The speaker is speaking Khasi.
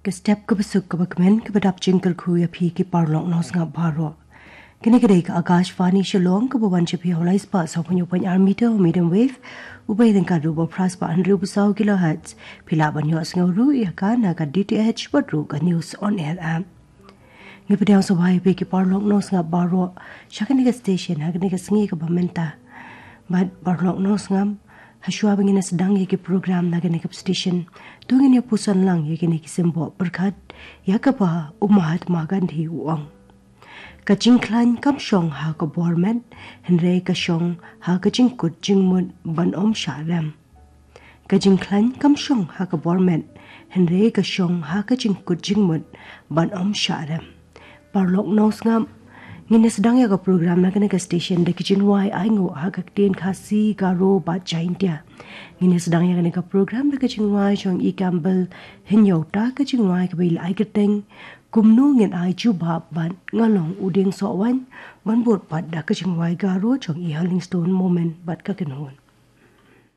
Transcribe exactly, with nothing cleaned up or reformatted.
Ka step kaba suk kaba kmen kaba dap jingkyrkhu ïa phi ki paralok nongsngap baroh. Kane ka dei ka Akashvani Shillong kaba wan sha phi ha u lai spah saw phew point ar meter medium wave. U bai dang ka ruh ba phra spah hynriew phew saw kilohertz. Phi lah ban ïohsngew ruh ïa ka na ka D T H bad ruh ka News on Air app. Ngi pdiang sngewbha ïa phi ki paralok nongsngap baroh sha kane ka station ha kane ka sngi kaba mynta. Bad paralok nongsngap, hashwa ba ngin ïa sdang ïa ki program na kane ka station, to ngin ïa puson lang ïa kine ki symboh pyrkhat ïa kaba u Mahatma Gandhi u ong: Ka jingkhlaiñ kam shong ha ka bor met, hynrei ka shong ha ka jingkut jingmut ban ym shah rem. Ka jingkhlaiñ kam shong ha ka bor met, hynrei ka shong ha ka jingkut jingmut ban ym shah rem. Paralok nongsngap, ngin ïa sdang ïa ka program na kane ka station da ka jingrwai ainguh ha ka ktien Khasi, Garo bad Jaintia. Ngin ïa sdang ïa kane ka program da ka jingrwai jong i Campbell Hynñiewta, ka jingrwai kaba i la ai kyrteng Kumno Ngin Ai Jubab bad Nga Long U Dieng Sohwaiñ, ban bud pat da ka jingrwai Garo jong i Hurlingstone Momin bad ka kynhun.